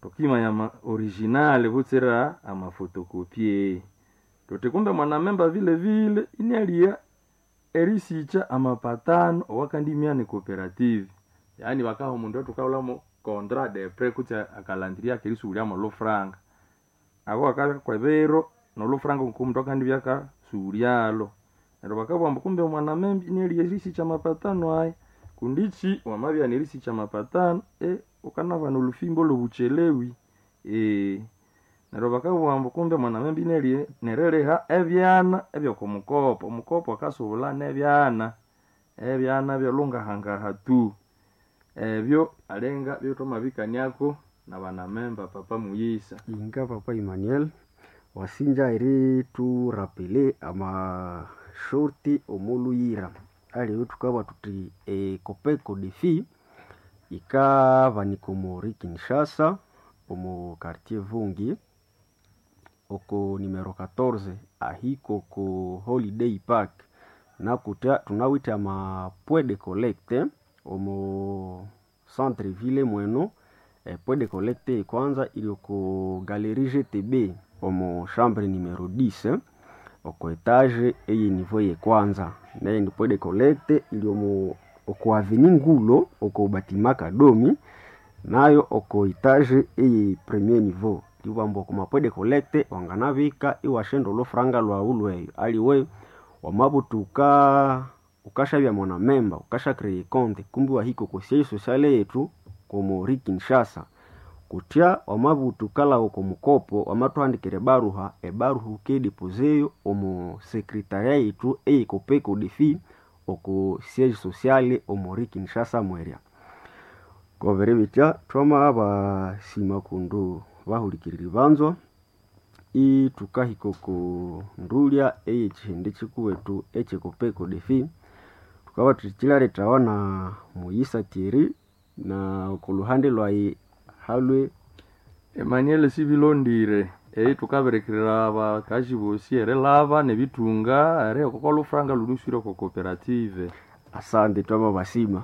Tukimanya ama original butsira amafotokopie. Tuti kumbe mwanamemba vile vile inialia erisicha amapatano owakandimia ni cooperative. Yaani bakaha omundu ethukaghulhamo contrat de prêt kutse akalandiria akerisughulhyamo olhufranga. Abo akabya kwebiro nolhufranga ngoku akandibya akasughulyalho. Neryo bakabugha ambu kumbe omwanamemba inialigha erisikya amapatano aya. Kundi ikyi wamabya erisikya amapatano wukanabana olhufimbo olhobuchelewi. Neryo bakabugha ambu kumbe omwanamemba inialigha neriliha ebyana ebyokwamukopo. Omukopo akasubulha nebyana, ebyana byolhungahangaha tu. Ebyo alinga byethwamabikaniako nabanamemba papa muyisa. Inga papa Emmanuel, wasinja erithurapele amashorti omolhuyira aliwe thukabugha thuthi ecopeco defi yikabanika omori Kinshasa omo quartier Vungi oko numero 14 ahika oko Holiday Park nakutya thunawithe ama point de collecte omo centre ville mweno. Epoint de collecte ekwanza iri oko galerie GTB omo chambre numero 10 oko etage eye niveau eyekwanza. Neyindi point de collecte iri omo oko avenue Ngulo oko batima Kadomi nayo oko etage eye premier niveau. Eribughambu oko ma point de collecte wanganabika iwasyaghenda olhufranga lhwaghu lhweyo aliwe wamabuthuka wukashabya mwanamemba wukasya create econte kumbi iwahika oko siège social yethu omori Kinshasa. Kutya wamabutha wukalhagha oko mukopo wamathuhandikira ebaruha, ebaruha wukiyidepozeyo omo secretaria yethu eye copeco defi oko siège social omori Kinshasa mwerya. Kwabiribitya thwamabasima kundu bahulikiriri banzwa ithukahika oko ndulya eyekyihindi kyikuwethu ekye copeco defi thukabugha thuthi kyilalhethawa na muyisa Thierry na okoluhande lwayi halwe Emmanuel Sibilondire eyi thukabirikirira abakazi bosi erilhaba nebithunga eriheka okwalhufranga lhulhuswire oko cooperative. Asante twamabasima.